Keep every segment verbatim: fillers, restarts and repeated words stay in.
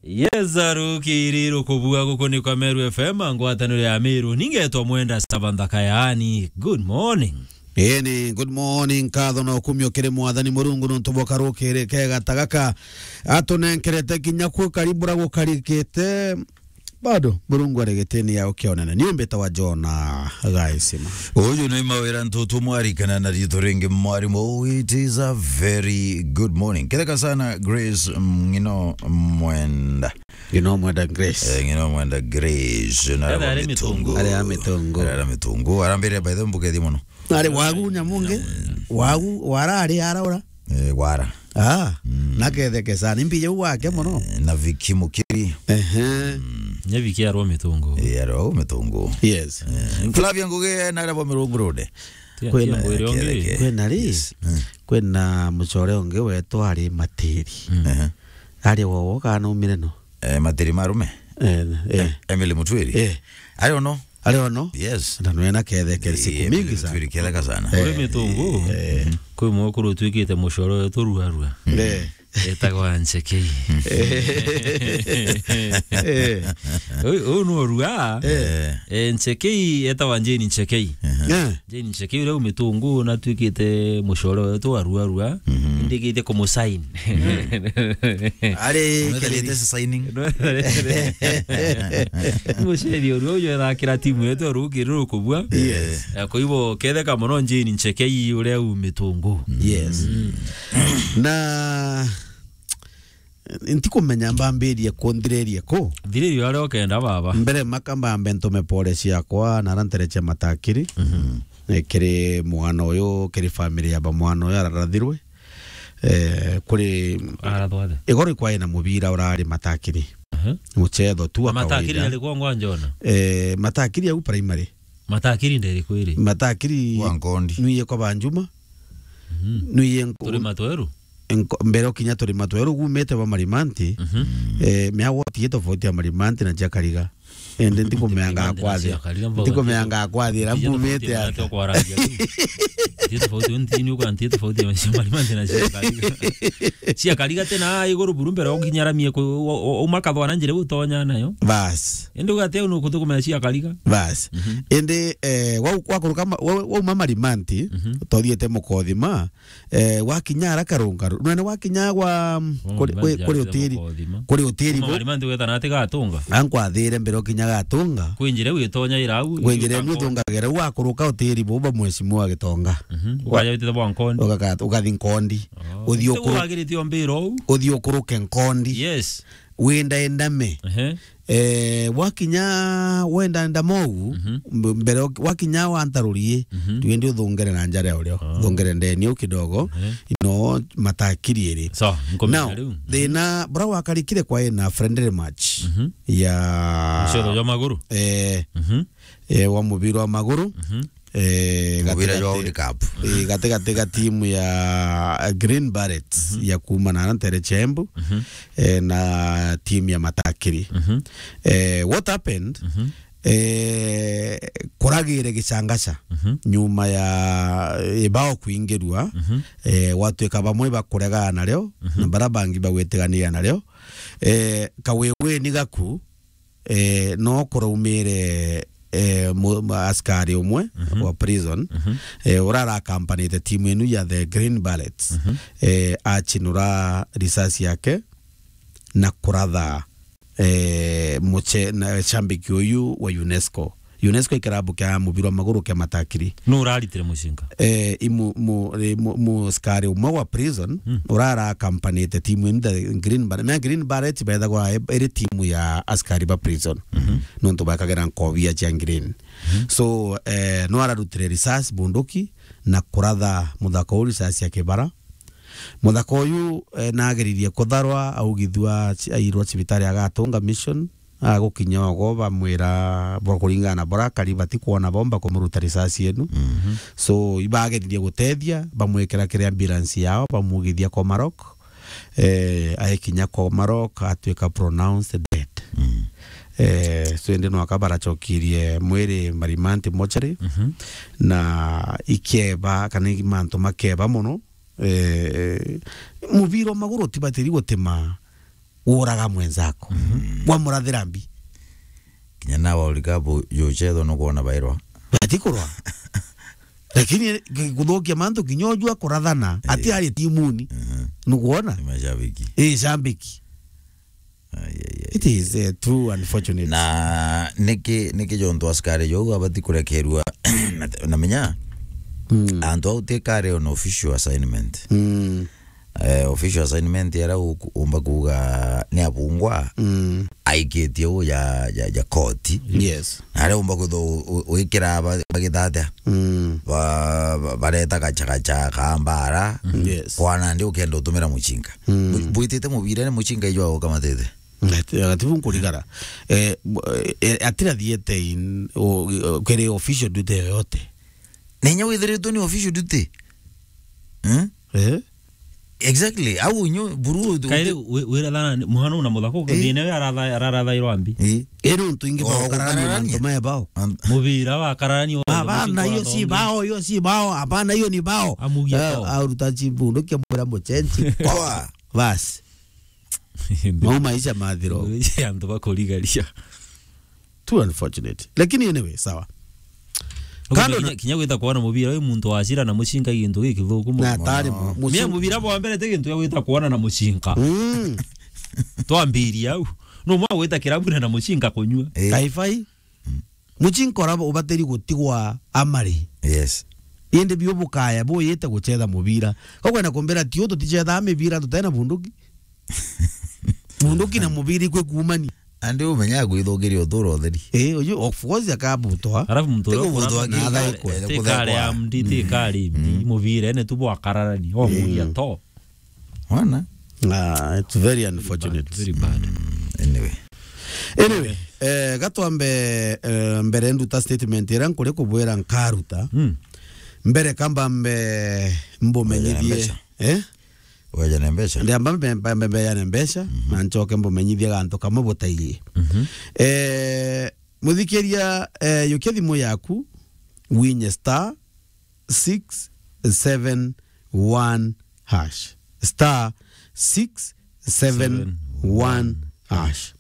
Yes, arukiri rukubua guku ni kwa Meru F M, ngwataniro ya Meru. Ningetwa Mwenda Saba Nthaka, yaani, good morning. Ii ni good morning, nkatho na ukumio kiri Mwathani Murungu nontu bwa karukiri kega ta gaka atunenkerete kinya kwi karibu ra gukarikite. Bado, Murungu ari gitini ya ukionene. Ni umbite wa Jona Gaisima. Uyu ni Mawira Ntutu Mwari kana na riitwa ringi Mwarimu. It is a very good morning. Ketheka sana Grace Ng'ino Mwenda. Ng'ino Mwenda Grace. Eh, Ng'ino Mwenda Grace. Na Etha ari Mitungu. Mitungu. Ari a Mitungu. Ari a Mitungu. Arambire by the way mbugethi muno. Ari wagu nyamungi. Wagu, wara ari araura. Eh, wara. Ah, mm. Naketheke sana. Ni mpija u wake mono. Eh, na Viki Mukiri. Ehe. Mm. Nye Viki arwa Mitungu. Eh, arwa Mitungu. Yes. Eh, Flavia Ngugi, eh, na arabo Mirungu Road. Tia, Kwena, tia ngwire ongi. Ketheke. Kwena ri? Yes. Mm. Kwena mucore ongi wetu ari Matiri. Mm. Ehe. Ari wowo kana umire no? Eh, Matiri Marume. Eh, eh. Em-, Emily Mutwiri. Eh. Ari ono. Ari ono? Yes. Na nwena ketheke siku mingi sana. Twiri ketheka sana. Uri Mitungu. Eh. Kwi mwekuru utwikite mucoro wetu ruarua. Eh. Etagwa Nchekei. Eh. Uyu, uyu ni urua. Eh. Eh, Nchekei etagwa Jane Nchekei. Eh. Jane Nchekei uria u Mitungu na twikite mucoro wetu wa ruarua. Mhm. Ndikite kumusain. Ari Unaweza kiri- leta signing. Muceri urua uyu ethakira timu yetu rukiri rukubua. Yes. Eh, kwa hivyo ketheka mono Jane Nchekei uria u Mitungu. Yes. Mm. Na ntikumenya mbambirie ku, nthirerie ku. Thiririo aria ukenda baba. Mbere maka mbambe ntume pole ciakwa na ara ntereche Matakiri. Mhm. Eh, kiri mwana uyu, kiri family ya ba mwana uyu ararathirwe. Eh, kuri Arathwa athe? Igoro ikwai na mubira urari Matakiri. Aha. Muchetho tu wa Matakiri kawaida. Ari kwa ngwa Njona? Eh, Matakiri au primary. Matakiri nderi kwiri? Matakiri Wa Nkondi. Nwiye kwa Banjuma. Mhm. Nwiye nko- Turi matweru? Nko-, mbere ukinya turi matweru gumite ba Marimanti. Mhm. Eh, mea woti ye tofauti ya Marimanti na cia Kariga. Ende ntikumeanga Marimanti na kwathira. Cia Kariga, mboga Ntikumeanga kwathira, cia tofauti mbumite ya aka. Nati okwarangia tu. Cia tofauti, untini ukanti tofauti ya cia Marimanti na cia Kariga. Cia Kariga tena iguru buru mbere ukinya ramie ku, u-, u-, umakathwa na njira utonya nayo. Bas. Indi ugate unu kutukumenya cia Kariga. Bas. Mhm. Indi, eh, wau, wakuruka ma-, wau, wauma Marimanti, mhm, tothiete Mukothima, eh, wakinya ara Karungaru. Nene wakinya gwa, mm, kuri, kuri, kuri utiri, kuri utiri bo. Mari mantu weta na ati Gatunga. Ankwathire mbere ukinya Gatunga. Kwinjire witonya irau. Kwinjire ni uthungagira u wakuruka utiri bo ba mheshimiwa Gitonga. Mhm. Wa- Ukaja witite bwa Nkondi. Ukaka-, ukathi Nkondi. Oh. Uthi ukuru-, wagirite o mbira u. Uthi ukuruke Nkondi. Yes. Wenda endame. Ehe. Eh, wakinya wenda ndamou, mhm, mb-, mbere uk-, wakinya wantarurie, mhm, tuende uthungere na njara ya urio. Ah. Thungere ndeni u kidogo, ehe, ino Matakiri iri. So, nkomenya. Now, riu, mhm, thina, bura wakarikire kwa ina friendly match, mhm, ya Mucoro jwa maguru. Eh, mhm, eh, wa mubira wa maguru. Mhm. Eh, mubira jwa gatigati, World Cup, eh, gatigati ga timu ya Green Barrets, mhm, ya kuma na Ntere Chembu, mhm, eh, na timu ya Matakiri. Mhm. Eh, what happened? Mhm. Eh, kuragire gicangaca, mhm, nyuma ya ibao kuingirua, mhm, eh, gwatuika bamwe bakuregana nario, mhm, na bara bangi bagwitigania nario. Eh, kawiwini gaku, eh, no kuraumire, eh, mu-, mu-, askari umwe, mhm, wa prison, mhm, eh, urara akampanite timu inu ya the Green Barrets, mhm, eh, achinura risasi yake na kuratha, eh, muche-, na shambiki uyu wa UNESCO. UNESCO i kirabu kia mubira wa maguru kia Matakiri. Nu uraritire mucinga? Eh, imu-, mu-, eh, mu-, muskari umwe wa prison, mm, urara akampanite timu inu the Green Barrets. Na Green Barrets bethagwa e-, iri timu ya askari ba prison. Mhm. Nontu bakagira nkobia cia green. Mhm. So, eh, no ararutire risasi bunduki na kuratha muthaka uu risasi ya kibara. Muthaka uyu, eh, nageririe kutharwa, augithua ci-, airwa cibitari ya Gatunga Mission. Agukinya ogo bamwira bwa kuringana na bura akari batikwona bo, bakumuruta risasi inu. Mhm. So, ibageririe gutethia, bamwikira kiri ambulance yao, bamugithia Komarok. Eh, aikinya Komarok, atuika pronounced dead. Mm. Eh, so, indi nwaka baracokirie mwiri Marimanti mortuary, mhm, na ikeba, kana i mantu makeba mono. Eh, mubira wa maguru utibatiri gutima uraga mwenzako. Mhm. Wamurathira mbi. Kinya nawe World Cup jucethwa nukwona bairwa. Batikurwa. Lakini ki-, kuthukia mantu kinya ujua kurathana, eh, ati ari timuni. Mhm. Nukwona? Ni mashabiki. Eh, shabiki. Ai, ai, ai. It is, eh, too unfortunate. Na niki, niki jontu askari jou abati kurekerua na, na menya, mm, antu au ti kare on official assignment. Mm. Eh, official assignment era u-, umba kuuga ni abungwa, mm, aikitie u ja, ja, ja koti. Yes. Na aria umba kwithwa u-, u-, wikira ba-, bagithatia. Mm. Ba-, ba-, bareta gachagacha ka mbara. Mm. Yes. Kwana ndi ukenda utumira muchinga. Mm. Bu-, bwitite mubira ni muchinga ijo ukamatite. Ati-, ati bu nkurigara. Eh, bu-, eh, atira thiete in, o, o, kiri official duty yoyote. Nenya withiritwe ni official duty. Eh? Eh? Exactly. Au nyo buru tu-, kairi tu-, wi-, wira thana ni muhano na muthako, eh, thina yo aratha-, ararathairwa mbi. Eh. Iri untu ingi, oh, baukararania gukararania mantu me bao. An- Mubira wakararania. Hapana, hiyo si bao, hiyo si bao. Hapana, hiyo ni bao. Amugia, eh, bao. Au ruta chibu, ndukia mura muchenji. Kwa. Basi. Mau maisha mathiro. Antu bakurigaria. Too unfortunate. Lakini anyway, sawa. Kando kinya, na kinya gwita kwona mubira, uyu muntu wacira na mucinga gintu gikithuku muno. Na atari mu-, mucinga. Mia mubira bwa mbere ti gintu gia gwita kwona na mucinga. Mm. Twambiria au. No mwa gwita kirabu na, na mucinga kunyua. Eh. Kaifai. Mm. Mucinga ura ubatiri gutigwa amari. Yes. Indi biu bukaya buyite gucetha mubira. Kokwenda kumbira ti u tuticethaa mibira tutena bunduki. Bunduki na mubira ikwi kuumania. Andi umenyaga kwithukiria uturo utheri. Eh, uyu of course akabutwa. Alafu mtu uria ukura na athaikwe. Tikare ya mdi, tikare mdi, mubira ene tu bwakararani. Omuria to. Wana? Ah, it's very unfortunate. Very bad. Mm, anyway. Anyway, eh, gatwambe, eh, mbere nduta statement ira nkuri kubwira nkaruta. Mm. Mbere kamba mbe mbumenyithie. Mbeca. Eh? Weja na mbeca? Ndiamba mbe, mbe, mbe, mbeja na mbeca, mhm, na nchoke mbumenyithie gantu kamwe butaii. Mhm. Eh, muthikiria, eh, yukia thimu yaku, winye star six seven one hash. Star six seven one hash.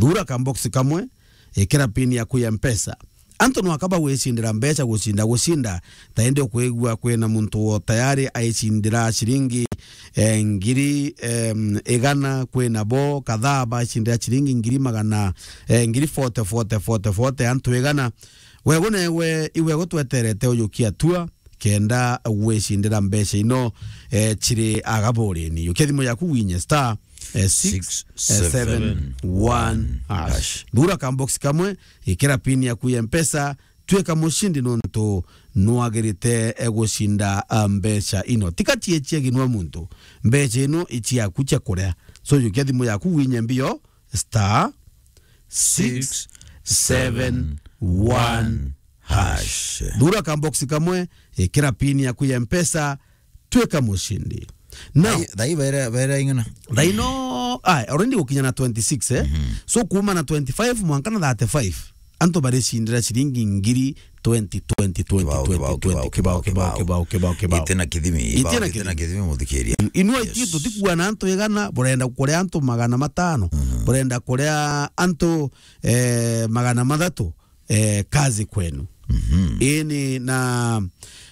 Thura ka box kamwe, ikira pin yaku ya Mpesa. Antu nwaka bagwicindira mbeca gucinda gucinda, ta indi ukwigua kwina muntu wo tayari aicindira ciringi, eh, ngiri, em, igana, kwina bo kadhaa bacindira ciringi ngiri magana, eh, ngiri forty, forty, forty, forty, antu igana. Wegu newe, iwe gutweterete ujukia tua, kenda gwicindira mbeca ino, eh, ciri agaburini. Yukia thimu yaku winye star, eh, six seven one hash. Thura ka box kamwe, ikira pin yaku ya Mpesa, twika mucindi nontu nwagirite, eh, gucinda, ah, mbeca ino. Tika ciechia ginwa muntu. Mbeca ino iciaku cia kuria. So, yukia thimu yaku winye mbio, star six seven one hash. Thura ka box kamwe, ikira pin yaku ya Mpesa, twika mucindi. Now, thai, thai baira, baira ing'ana? Thai no, ai, already gukinya na twenty-six, eh? Mhm. So, kuma na twenty-five mwanka na thirty-five, antu baricindira ciringi ngiri twenty, twenty, twenty, kibao, twenty, kibao, twenty, kibao, kibao, kibao, kibao, kibao, kibao. Ite na kithimi, ite na kithimi, muthikiria. Inua, yes, itio tutikuana antu igana, burenda kuria antu magana matano, mhm, burenda kuria antu, eh, magana mathatu, eh, kazi kwenu. Mhm. Ini na,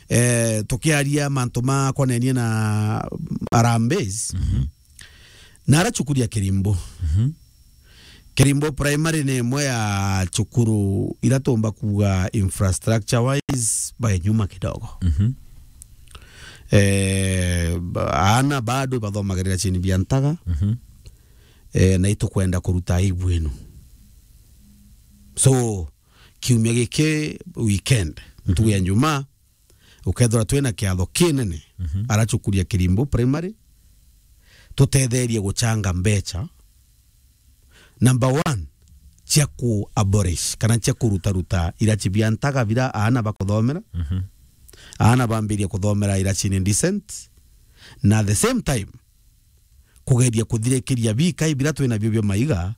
eh, tukiaria mantu ma konenie na Harambee, mhm, na ara cukuru ya Kirimbo. Mhm. Kirimbo Primary ni imwe ya cukuru ira tumba kuuga infrastructure wise bai nyuma kidogo. Mhm. Eh, ba-, aana bado bathomagirira chini bia ntaga. Mhm. Eh, na itukwenda kuruta aibu inu. So, kiumia giki weekend, mhm, ntugu ya Njumaa, ukethirwa twina kiatho kinene, mhm, ara cukuru ya Kirimbo Primary, tutetherie guchanga mbeca. Number one, cia ku abolish, kana cia kurutaruta irachi bia ntaga bira aana bakuthomera. Mhm. Aana bambirie kuthomera irachini decent. Na at the same time, kugeria kuthirikiria bikai bira twina bio bia maiga,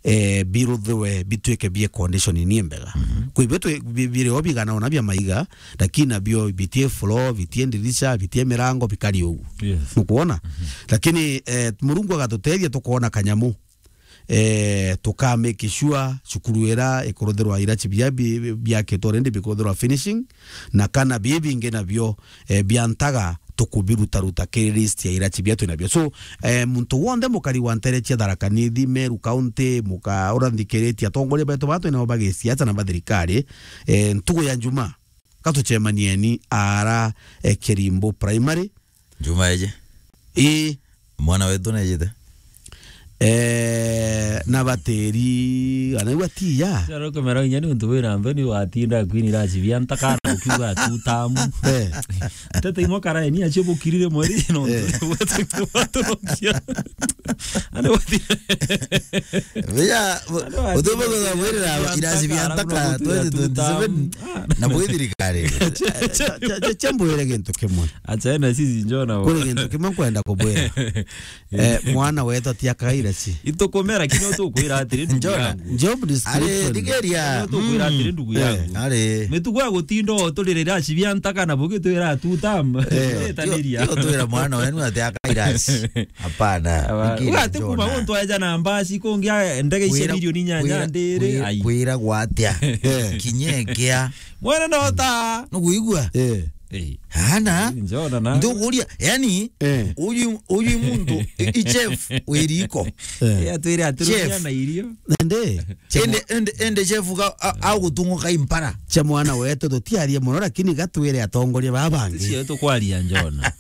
eh, biruthiwe bitwike bie condition ni mbega. Mhm. Kwi bio twi-, bi-, biri o bigana ona bia maiga, lakini nabio bitie floor, bitie ndirisha, bitie mirango, bikari ugu. Yes. Nukwona? Mhm. Lakini, eh, Murungu agatutethia tukoona kanyamu. eh, tuka make sure cukuru ira ikuruthirwa irachi bia bi-, biakitwe already bikuruthirwa finishing, na kana bibi bingi nabio, eh, bia ntaga tukubirutaruta kiri list ya irachi bia twinabio. So, eh, muntu wonthe mukari wa ntere cia Tharaka Nithi, Meru County, muka uranthikiritie atongoria betu ba twinabo ba gisiasa na ba thirikari, eh, ntugu ya Njuma, katucemanieni ara, eh, Kirimbu Primary. Njuma eje? Ii. Mwana wetu nejite? Eh, na batiri, anaigua ti ya. Sasa ukomera inya ni untu wira mbeni watinda kwini rachi bia ntakana ukiuga tu tamu. Eh. Tete imwe karaeni acio bukirire mweri no. Eh. Ane wati. Biya, utubu kutha mwirira irachi bia ntaka twenty twenty-seven. Na bwi thirikari. Cha, cha, cha, cha mbwire gintu kimwe. Acha ena sisi njona. Kuri gintu kimwe nkwenda kubwira. Eh, mwana wetu atiakaga irachi. Itukumera kinya utukwira atiri ndugu Njona. Yangu. Job description. Ari, thigeria. Utukwira atiri ndugu yangu. Ari. Mitugo ya gutinda uturire irachi bia ntaka na bugi twira tu tam. Eh. Taniria. Tio twira mwana wenu atiakaga irachi. Hapana. Aba, uga ati kuma Njona. Muntu aja na mbasi kungi a-, ndege icio kwira, milioni inyanya kwira, ndiri, kwira, ai. Kwira gwatia. Eh. Kinyekea. Mwana no ta. Nuguigua? Eh. Eh. Hana. Njona na. Nduguria, yani, eh, uyu, uyu muntu, i, i chef, wiriko. Eh. Eh, atwire aturugia chef. Na irio. Nende. Ende, ende, ende chef ga, a, a gutunguka impara. Cha mwana wetu tutiarie muno, lakini gatwire atongoria baba bangi. Cio tukwaria Njona.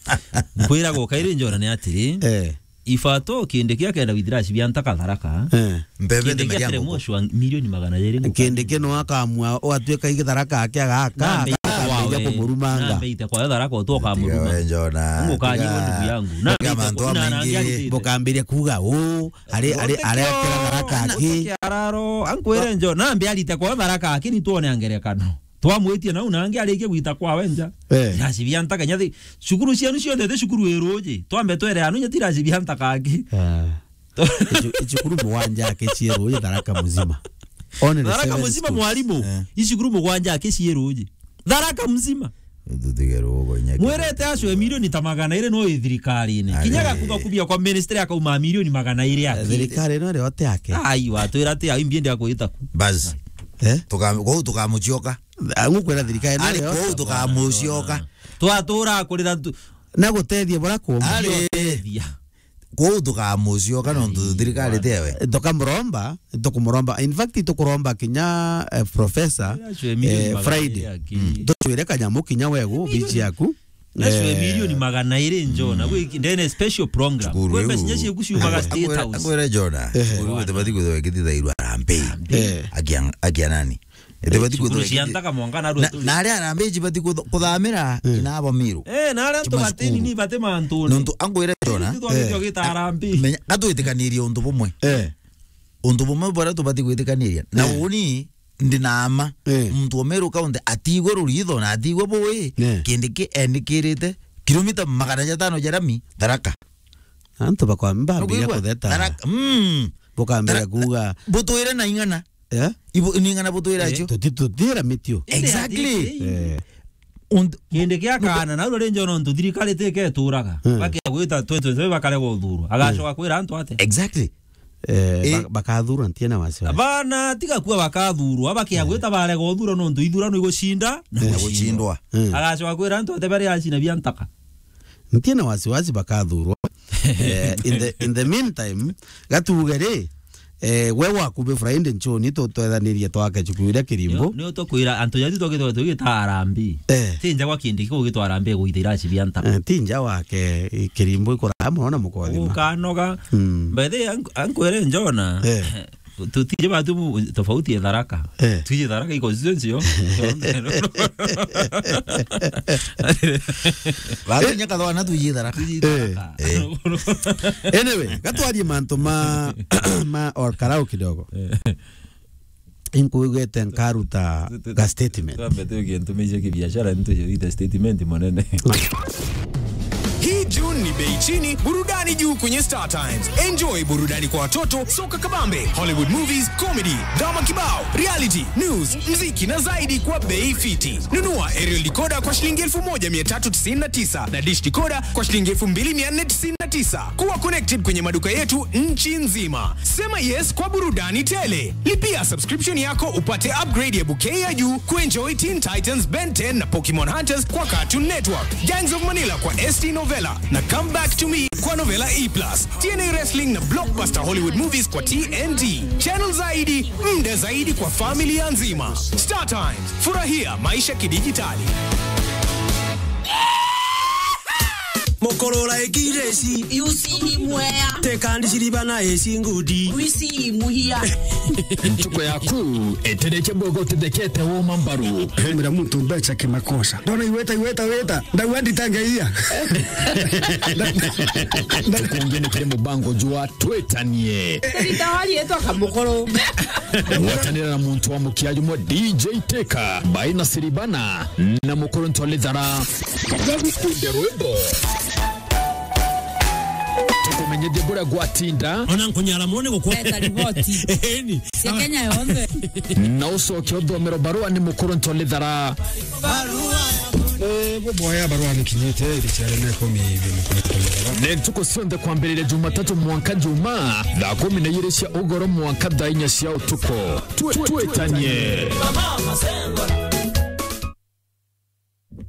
Nkwira gokaire Njona ni atiri. Eh. Ifato kindi kia kenda withira cibia ntaka Tharaka. Eh. Mbebe kindi kia ndemeria kere nguku. Moshwa milioni magana jeri nguku. Kindi kino akamua, watwika igi Tharaka akia gaka, nambe ite kwawe. Akamenya kumurumanga. Nambe ite kwawe Tharaka utoka muruma. Tiga we Njona. Ngukanyirwo ndugu yangu. Nambe ite mantu kwa-, na nangi maingi. Arutite. Bukambiria kuga, "Uu, ari, ari, ari akira Tharaka aki." Araro, ankwire Njona, nambe arite kwawe Tharaka aki, ni tuone angerekano. Twamwitie nau nangi arikie gwita kwawe nja. Eh. Iraci bia ntaka nyathi. Cukuru cianu cionthe ti cukuru iruji. Twambe twere anu nyati iraci bia ntaka aki. Ah. Icu-, icukuru mugwanja aki cie ruji Tharaka muzima. Only the seven schools. Tharaka muzima mwarimu. Eh. Icukuru mugwanja aki cie ruji. Tharaka muzima. Tutige rugo nyaki. Mwirete acwe milioni ta magana iri no i thirikarine. Kinya gakuga kubia kwa ministry akauma milioni magana iri aki. Eh, thirikari ino ri ote ake. Ai, watwira ati ai mbiendi akwita ku. Bas. Eh? Tuka-, kwou tukamucioka. Angu kwira thirikari ino ari ri ote. Kwou tukamucioka. Twatura kurira tu-, na gutethia bura kumba. Ari. Gutethia. Kwou tukamucioka nontu thirikari ti ewe. Tukamuromba, tukumuromba. In fact, tukuromba kinya, eh, professor, eh, Friday. Mm. Tucwire kanyamu kinya wegu, bichi yaku. Nacio eh, milioni magana iri Njona, mm, gwi ndene special program. Cukuru kwembe iu. Cinya cieku ciumaga State House. Akwira Njona, eh, cukuru iu itibati kwithirwa ikithithairwa harambee. Eh. Akia, akia nani? Itibati kwithirwa ikithithairwa. Cukuru cia ntaka mwanka na rwetu. Na aria harambee cibati kutho-, kuthamira, eh, nabo Miru. Eh, na aria antu batini ni bati mantune. Nontu ankwire Njona. Ititwagitio gita harambee. Menya, gatwitikanirie untu bumwe. Eh. Untu bumwe buria tubati gwitikaniria. Na eh, uni ndi na ama, eh, muntu wa Meru County atigwe ruritho na atigwe bui, eh, kindi ki endikirite kilomita magana jatano ja rami Tharaka. Antu bakwa-, mbambire kutheta. Tharaka, mm. Bukambire kuuga. Butwire na ing'ana. Eh? Ibu-, ni ing'ana butwire acio. Tuti-, tutira mitio. Exactly. Eh. Kindi kia kana, na uri Njona nontu thirikari ti keturaga. Hmm. Bakia gwita twenty twenty-five bakare guthurwa. Agacoka kwira antu ate? Exactly. Eh, eh, ba-, bakathurwa ntie na wasiwasi. Bana tiga kuwa bakathurwa, bakia gwita barega uthurwa nontu ithurano igucinda na gucindwa. Hmm. Agacoka kwira antu ate bari acina bia ntaka. Ntie na wasiwasi bakathurwa. Eh, in the, in the meantime, gatuge ri, eh, we waku bi Friday Nchoni tutwethanirie twake cukuru iria Kirimbu. Ni, ni tukwira antu jatu twagitwa tugita harambee. Eh. Ti nja gwa kindi kigugitwa harambee gwita iraci bia ntaka. Eh, ti nja wake, i Kirimbu ikuraga muno na mukothima. Ukanoga. Mm. By the way, ank-, ankwere Njona. Eh. Tutije batu mu-, tofauti ya Tharaka. Eh. Tuije Tharaka i constituency yo. Batu nyaka thwana tuije Tharaka. Tuije Tharaka. Eh. Anyway, gatwarie mantu ma, ma Ol Kalou kidogo. Eh. Inkuigwete nkaruta ga statement. Twambe tuige ntumice kibiashara, nitujite statement munene. Hii June ni bei chini, burudani juu kwenye Star Times. Enjoy burudani kwa watoto, soka kabambe, Hollywood movies, comedy, drama kibao, reality, news, mziki na zaidi kwa bei fiti. Nunua aerial decoder kwa shilingi elfu moja mia tatu tisini na tisa na dish decoder kwa shilingi elfu mbili mia nne tisini na tisa. Kuwa connected kwenye maduka yetu nchi nzima. Sema yes kwa burudani tele. Lipia subscription yako upate upgrade ya bouquet ya juu kuenjoy Teen Titans, Ben ten na Pokemon Hunters kwa Cartoon Network, Gangs of Manila kwa S T Novella na Come Back to Me kwa Novella E plus, T N A Wrestling na blockbuster Hollywood movies kwa T N T. Channel zaidi, muda zaidi kwa familia nzima. Star Times, furahia maisha kidijitali. Mukurura ikireci. Yusi ni mwea. Tekandi shiriba na esi ngudi. Wisi muhia. Ntuko yaku etereke bogo tithekete woma mbaru. Hemera muntu mbeca kimakosa. Ndona iweta, iweta, weta. Ndauga nditangeia. Tukungi ni kiri mubango jwa twitanie. Ritawari etwa Kamukuru. Gwatanira na muntu wa mukia jumwe D J Teka, Baina Siribana, na Mukuru Ntwalithara. Tukumenyithie buria gwatinda. Ona nkunyara mone gukwa. Leta riboti. Eni. Cia Kenya yonthe. Na ucoke uthomero barua ni Mukuru Ntwalithara. Eh, buboya barua nikinyite iriciare na ikumi. Ni ntuku cionthe kwambiriria Jumatatu mwanka Juma, thaa kumi na igiri cia ugoro mwanka thaa inya cia utuku. Twe-, twitanie.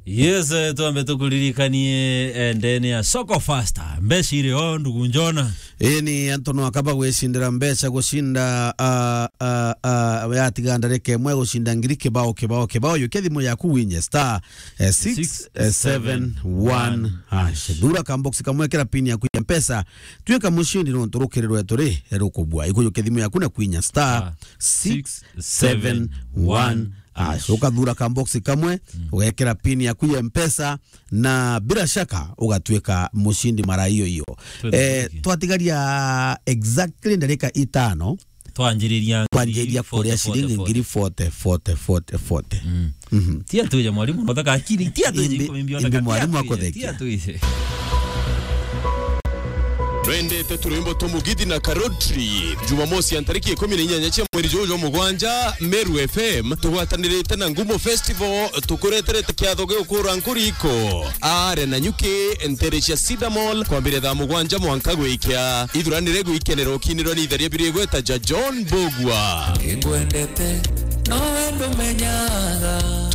Yes, eh, twambe tukuririkanie, eh, ndene ya Soko Faster. Mbeca iri o, ndugu Njona. Ii ni antu no akaba gwicindira mbeca, gucinda, ah, ah, ah, yatiga ndarika imwe gucinda ngiri kibao, kibao, kibao. Yukia thimu yaku winye star, eh, six seven one hash. Thura kambox kamwe, kira pin yaku ya Mpesa. Tuika mucindi nontu rukiri rwetu ri rukubua. Ikuyukia thimu yaku na kwinya star six seven one hash. Ukathura kambox kamwe, ugekira pin yaku ya Mpesa, na bila shaka ugatuika mucindi mara iyo iyo. Twende. Eh, twatigaria exactly ndarika itano. Twanjiriria ngiri kwanjiriria kuria forty, ciringi forty, ngiri forty, forty, forty, forty. Mm. Mhm. Tia tuije mwalimu, nothaka akiri, tia tuije. Indi, iko mimbi, indi nothaka mwalimu tia tuije, akuthekia. Tia tuije. Twendete turwimbo twa Mugithi na Karotri. Jumamosi ya ntariki ikumi na inyanya cia mweri juju jwa mugwanja, Meru F M tugwatanirite na Ngumo Festival, tukureterete kiatho gia ukura nkuriko. Are na nyuki ntere cia Cedar Mall kwambiria thaa mugwanja mwanka gwikia. Ithuranire gwikenera ukinirwa ni itheria biri igweta ja John Mbugua. Ingwendete, no wendo menyaga.